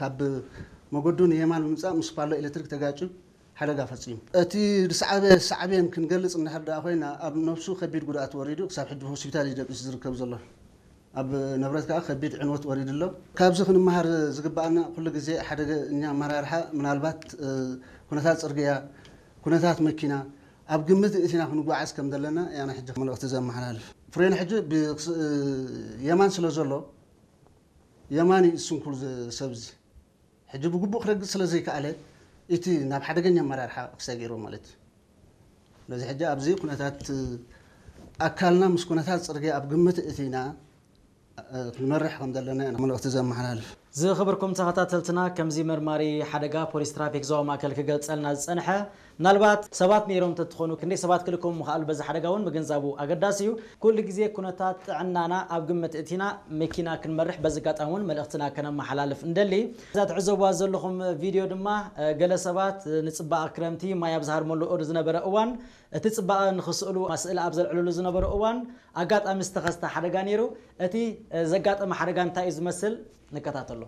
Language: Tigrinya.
ካብ መገዱ ንየማን ብምምፃእ ምስ ፓሎ ኤሌክትሪክ ተጋጭዩ ሓደጋ ፈፂሙ። እቲ ዝሰዓበ ሳዕቤን ክንገልፅ እንድሕር ደኣ ኮይና፣ ኣብ ነብሱ ከቢድ ጉድኣት ወሪዱ ክሳብ ሕጂ ሆስፒታል እዩ ደቂሱ ዝርከብ ዘሎ። ኣብ ንብረት ከዓ ከቢድ ዕንወት ወሪዱ ኣሎ። ካብዚ ክንመሃር ዝግበኣና፣ ኩሉ ግዜ ሓደገኛ ኣመራርሓ ምናልባት ኩነታት ፅርግያ፣ ኩነታት መኪና ኣብ ግምት እቲና ክንጓዓዝ ከም ዘለና ያና ሕጂ መልእኽቲ ዘመሓላልፍ። ፍሬን ሕጂ የማን ስለ ዘሎ፣ የማን እዩ ስንኩል ሰብዚ ሕጂ ብግቡእ ክረግፅ ስለ ዘይከኣለ፣ እቲ ናብ ሓደገኛ ኣመራርሓ ክሰጊሩ ማለት እዩ። ስለዚ ሕጂ ኣብዚ ኩነታት ኣካልና ምስ ኩነታት ፅርግያ ኣብ ግምት እቲና ክንመርሕ ከም ዘለና መልእኽቲ ዘመሓላልፍ። ዝኽብርኩም ተኸታተልትና፣ ከምዚ መርማሪ ሓደጋ ፖሊስ ትራፊክ ዞባ ማእከል ክገልጸልና ዝጸንሐ፣ ምናልባት ሰባት ነይሮም ተትኾኑ ክንደይ ሰባት ክልከሙ ምኽኣሉ በዚ ሓደጋ እውን ምግንዛቡ ኣገዳሲ እዩ። ኩሉ ግዜ ኩነታት ጥዕናና ኣብ ግምት እቲና መኪና ክንመርሕ በዚ ኣጋጣሚ እውን መልእኽትና ከነመሓላልፍ እንደሊ። እዛ ትዕዘብዋ ዘለኹም ቪድዮ ድማ ገለ ሰባት ንጽባቐ ክረምቲ ማይ ኣብ ዝሃርመሉ ዝነበረ እዋን እቲ ጽባቐ ንኽስእሉ ስእሊ ኣብ ዘልዕልሉ ዝነበሩ እዋን ኣጋጣሚ ዝተኸስተ ሓደጋ ነይሩ። እቲ ዘጋጠመ ሓደጋ እንታይ እዩ ዝመስል? ንከታተሎ።